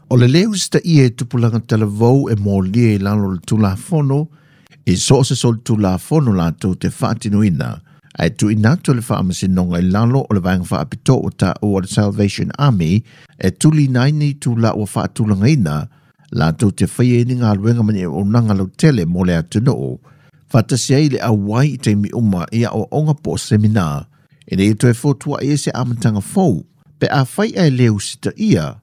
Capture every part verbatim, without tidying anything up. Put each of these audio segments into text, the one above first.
O le leu usitaia e tupulaga talavou e molia i lalo o le Tulafono i so o se solitulafono latou te faatinoina ae tuuina atu le faamasinoga i lalo o le vaega faapitoa ua taua o le Salvation Army e tuliina ai ni itulā ua faatulagaina latou te faia ai ni galuega ma ni auaunaga lautele mo le atunuu faatasi ai le auai i taimi uma i aoaoga po o semina ina ia toe fotuai ai se amataga fou pe afai ae le usitaia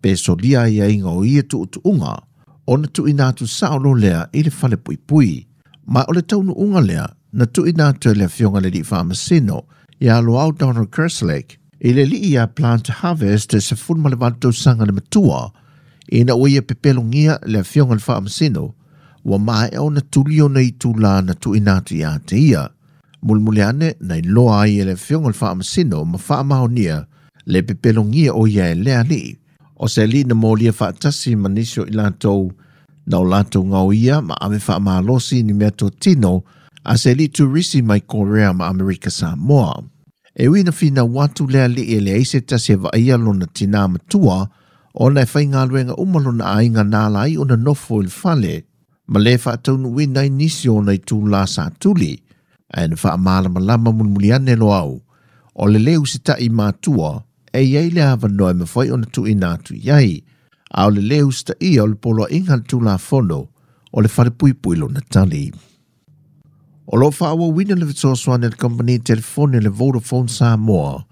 pe solia aiaiga o ia tuutuuga ona tuuina atu sao loa lea i le fale puipui. Ma o le taunuuga lea na tuuina atu e le afioga i le alii faamasino ia Loau Donald Kerslake i le alii ia Plant Harvest e sefulu ma le valu tausaga le matua ina ua ia pepelogia le afioga i le faamasino ua maea ona tuli ona itulā na tuuina atu ia te ia. Mulimuli ane na iloa ai e le afioga i le faamasino ma faamaonia le pepelogia o ia e le alii. O se alii na molia faatasi ma nisi o i latou na o latou gaoia ma ave faamalosi ni meatotino a se alii turisi mai Korea ma Amerika Samoa. E ui na finau atu le alii e leai se tasi e vaaia lona tinā matua ona e faigaluega uma lona aiga na ala ai ona nofo i le fale ma le faataunuuina ai nisi o ona itulā sa tuli ae na faamalamalama mulimuli ane Loau o le lē usita'i matua e iai le avanoa e mafai ona tuuina atu i ai a o le lē usitaia o le poloaiga a le Tulafono o le fale puipui lona tali. O lo o faaauauina le fesoasoani a le kamupani telefoni le Vodafone Samoa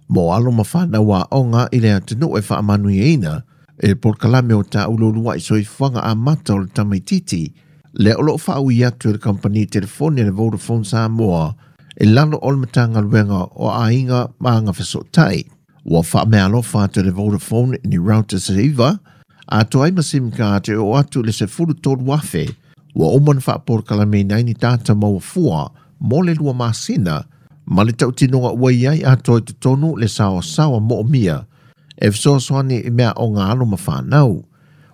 mo alo ma fanau aoga i le atunuu e faamanuiaina i le polokalame o taulu ulua'i soifuaga amata o le tamaitiiti lea o lo o faaui atu e le kamupani telefoni le Vodafone Samoa i lalo o le Matagaluega o Aiga ma Agafesootai. Ua faameaalofa atu e le Vodafone ni routers e iva atoa ai ma SIM card e oo atu i le sefulu tolu afe ua uma ona faapolokalameina ai ni data maua fua mo le lua masina ma le tautinoga ua i ai atoa i totonu le saoasaoa moomia e fesoasoani i meaaoga alo ma fanau.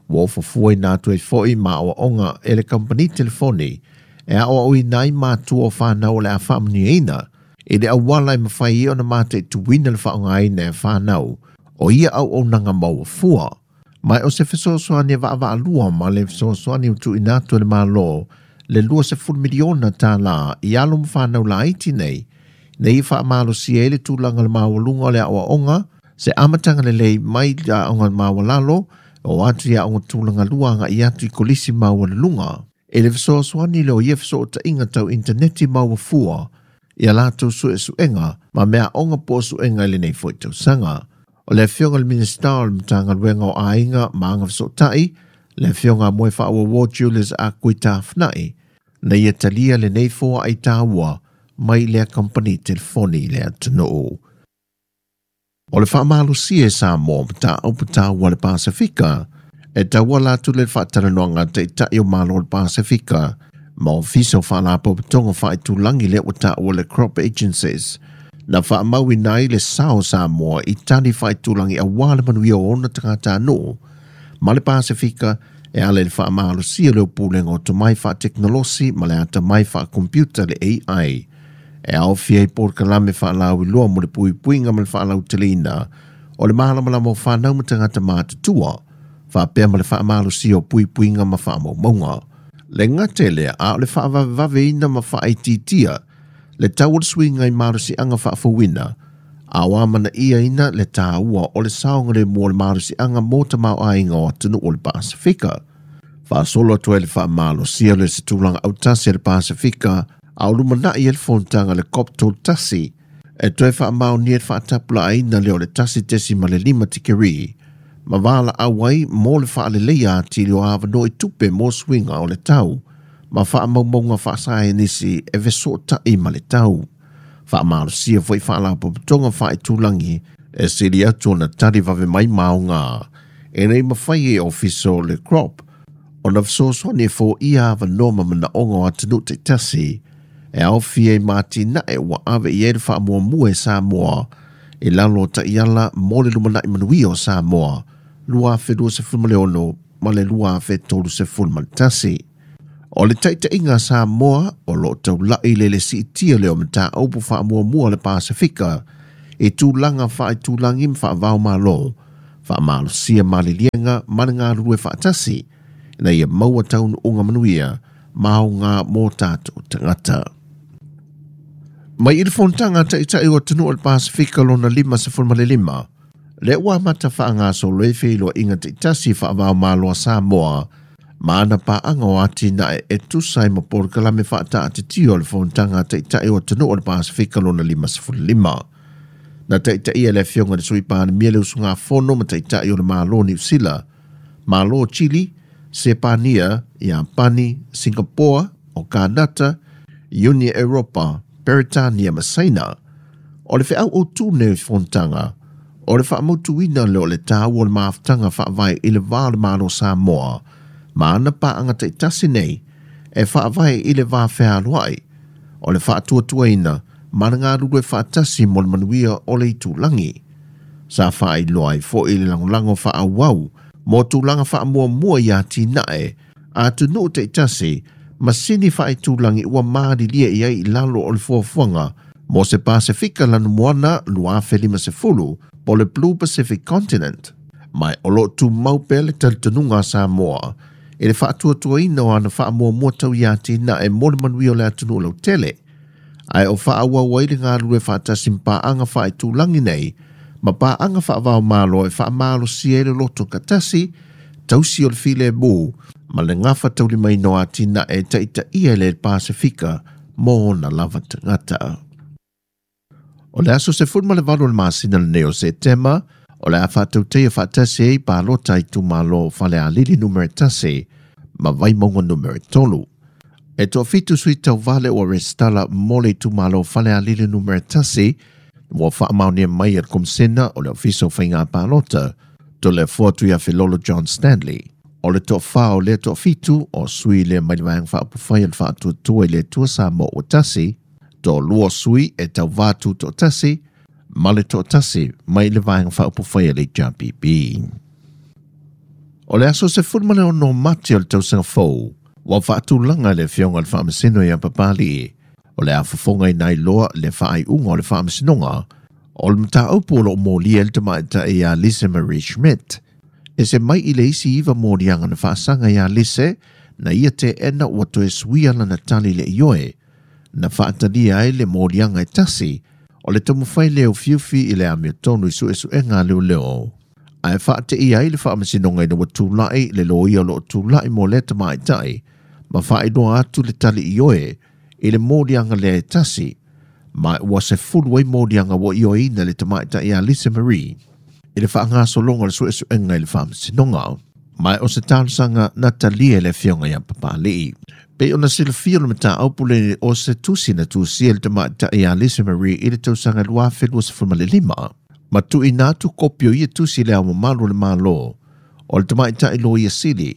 Ua ofofuaina atu ai fo'i ma aoaoga e le kamupani telefoni e aoaoina ai matua o fanau o le a faamanuiaina i le auala e mafai ai ona mataituina le faaaogaina e fanau o ia auaunaga maua fua. Ma o se fesoasoani e vaavaalua ma le fesoasoani ua tuuina atu e le Malo le luasefulu miliona tālā i alo ma fanau laiti nei ina ia faamalosia ai le tulaga o le maualuga o le aoaoga se amataga lelei mai i aoga maualalo o atu i aoga tulaga lua agai atu i kolisi maualuluga. E le fesoasoani lea o ia fesootaiga tau intaneti maua fua ia latou suesuega ma meaaoga po o suega i lenei foi tausaga. O le afioga i le Minisita o le Matagaluega o Aiga ma Agafesootai, le afioga a Moefaauouo Julius Ah Kui Tafna'i, na ia talia lenei foaai taua mai lea kamupani telefoni i le atunuu. O le faamalosia e Samoa mataupu taua le Pasefika e tauala atu le faatalanoaga a taitai o Malo o le Pasefika ma ofisa o faalapotopotoga faaitulagi lea ua taua le Crop Agencies na faamauina ai le sao Samoa i tali faaitulagi auā le manuia o ona tagatanuu ma le Pasefika e ala i le faamalosia o le pulega o tomai faatekonolosi ma le atamai faakompiuta le A I e aofia ai polokalame faalauiloa mo le puipuiga ma le faalauteleina o le malamalama o fanau ma tagata matutua faapea ma le faamalosia o puipuiga ma faamaumauga. Le gata i lea a o le faavavevaveina ma faaitiitia le tau o le suiga i malosiaga faafouina a o amanaiaina le taua o le saogalemu o le malosiaga mo tamaoaiga o atunuu o le Pasefika. Faasolo atu ai le faamalosia o se tulaga autasi a le Pasefika a o lumanai ai le fonotaga le COP tolu tasi e toe faamaonia le faatapulaaina lea o le tasi tesima le lima tikeri ma valaau ai mo le faaleleia atili o avanoa i tupe mo suiga o le tau ma faamaumauga faasaenisi e fesootai ma le tau. Faamalosia foi faalapotopotoga faaitulagi e sili atu ona tali vave mai maoga e nei mafai e ofisa o le Crop ona fesoasoani e foia avanoa ma manaoga o atunuu taitasi e aofia i matinae ua ave i ai le faamuamua e Samoa i lalo o taiala mo le lumanai manuia o Samoa lua afe luasefulu ma le ono ma le lua afe tolusefulu ma le tasi. O le taitaiga a Samoa o lo o taulai le le siitia lea o mataupu faamuamua le Pasefika i tulaga faaitulagi ma faavaomalo Faamalosia maliliega ma le galulue faatasi ina ia maua taunuuga manuia ma aoga mo tatou tagata. Mai i le fonotaga taʻitaʻi o atunuu o le Pasifika lona lima sefulu ma le lima, le ua amata faagasolo ai feiloaiga taitasi faavaomalo a Samoa ma ana paaga o atinae e tusa ai ma polokalame faataatitio o le fonotaga taʻitaʻi o atunuu o le Pasifika lona lima sefulu lima. Na taʻitaʻia le afioga i le Sui Palemia le usugafono ma taʻitaʻi o le Malo Niu Sila, Malo Chile, Sepania, Iapani, Singapore, o Kanata, Iuni Europa, Peretania ma Saina. O le feau o tū nei fonotaga, o le faamautuina lea o le taua o le mafutaga faavae i le va o le Malo Samoa, ma ana paaga taitasi nei e faavae i le va fealoai, o le faatuatuaina ma le galulue faatasi mo le manuia o le itulagi. Sa faailoa ai foi le lagolago faaauau mo tulaga faamuamua i atinae a atunuu taitasi masini faaitulagi ua malilie i ai i lalo o le fuafuaga mo se Pasifika lanumoana lua afe lima sefulu po le Blue Pacific Continent. Ma o loo tumau pea le talitonuga a Samoa i le faatuatuaina o ana faamuamua tau i atinae mo le manuia o le atunuu lautele. Ae o faaauau ai le galulue faatasi ma paaga faaitulagi nei ma paaga faavaomalo e faamalosia ai le loto katasi, tausi o le filemu ma le gafa taulimaina o atinae e taitaia le Pasifika mo ona lava tagata. O le aso sefulu ma le valu o le masina lenei o Setema, o le a faatautaia faatasi ai palota i itumalo Falealili numera tasi ma Vaimauga numera tolu. E toafitu sui tauvale ua resitala mo le itumalo Falealili numera tasi ua faamaonia mai e le Komisena o le Ofisa o Faiga Palota, Toleafoa Tuiafiilolo John Stanley. O le toafā o lea toafitu o sui lea mai le Vaega Faaupufai o le Faatuatua i le Atua Samoa ua tasi, toalua sui e tauvā tutoatasi, ma le toatasi mai le Vaega Faaupufai a le H R P P. O le aso sefulu ma le ono Mati o le tausaga fou, ua faatulaga le afioga i le Faamasino ia Papalii, o le afofoga i nai loa le faaiuga o le faamasinoga, o le mataupu o loo molia le tamaitaʻi ia Lise Marie Schmidt. E se mai i le isi iva moliaga na faasaga ia Lise, na ia teena ua toe suia lana tali le ioe, na faatalia ai le moliaga e tasi, o le taumafai lea o fiufi i le amiotonu i suesuega a leoleo. Ae faateia ai le faamasinoga ina ua tulaʻi le loia o loo tulaʻi mo lea tamaitaʻi, ma faailoa atu le tali ioe i le moliaga lea e tasi, ma ua sefulu ai moliaga ua ioeina le tamaitaʻi ia Lise Marie i le faagasologa o le suesuega i le faamasinoga. Ma o se talosaga na talia e le afioga ia Papalii. Pei ona silafia o le mataupu le o se tusi na tusia le tamaitaʻi ia Lise Marie i le tausaga lua afe luasefulu ma le lima. Ma tuuina atu kopi o ia tusi le ao mamalu o le Malo o le tamaitaʻi loia sili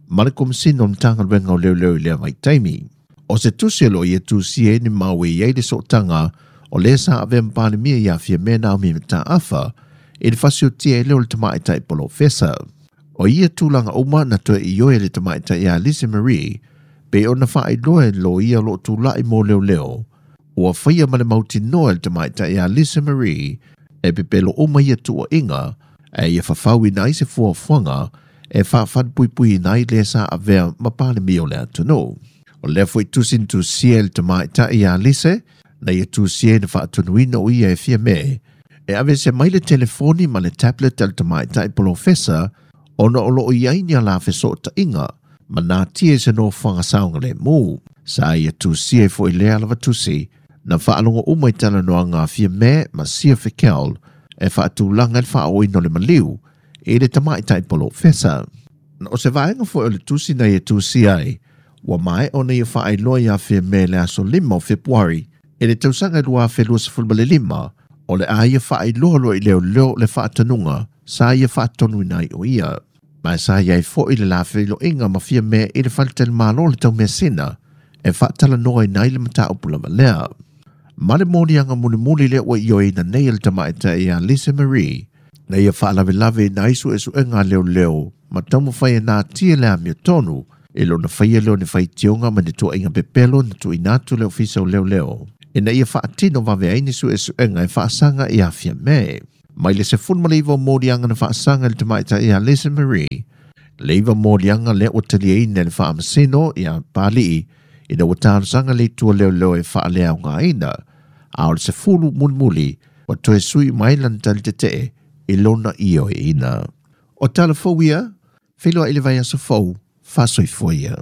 ma le Komisina o le Matagaluega o Leoleo i lea vaitaimi. O se tusi o loo ia tusia ai ni mau e iai le sootaga o lea sa avea ma Palemia ia Fiamē Naomi Mataafa i le fasiotia ai lea o le tamaitaʻi polofesa. O ia tulaga uma na toe ioe le tamaitaʻi ia Lise Marie pe ona faailoa e loia o loo tulaʻi mo leoleo. Ua faia ma le mautinoa e le tamaitaʻi ia Lise Marie e pepelo uma ia tuuaiga e ia fafauina ai se fuafuaga e faafalupuipuiina ai le sa avea ma Palemia o le atunuu. O lea foi tusi na tusia e le tamaitaʻi ia Lise, na ia tusia ai na faatonuina o ia e Fiamē e aveese mai le telefoni ma le tablet a le tamaitaʻi polofesa ona o loo iai ni ala fesootaiga ma natia i se nofoaga saogalemu. Sa ia tusia ai foi lea lava tusi na faalogo uma i talanoaga a Fiamē ma Sia Fikel e faatulaga i le faaoina o le maliu i le tamaitaʻi polofesa. O se vaega foi o le tusi na ia tusia ai, ua mae ona ia faailoa ia Fiamē le aso lima o Fepuari i le tausaga lua afe luasefulu ma le lima, o le a ia faailoa loa i leoleo le faatanuga sa ia faatonuina ai o ia. Ma sa ia ai foi le lafeiloaiga ma Fiamē i le faletalimalo le taumeasina e faatalanoaina ai le mataupu lava lea. Ma le moliaga mulimuli lea ua ioeina nei e le tamaitaʻi ia Lise Marie, na ia faalavelave ina ai suesuega a leoleo ma taumafai e natia le amiotonu i lona faia lea o ni faitioga ma ni tuuaiga pepelo na tuuina atu le ofisa o leoleo ina ia faatino vave ai ni suesuega e faasaga ia Fiamē. Mai le sefulu ma le iva o moliaga na faasaga i le tamaitai ia Lisa Marie, le iva moliaga lea ua taliaina e le faamasino ia Papalii ina ua talosaga le itu a leoleo e faaleaogaina, a o le sefulu mulimuli ua toe sui mai lana tali tetee i lona ioeina. O tala fou ia, feiloai i le vaiaso fou, faasoifua ia.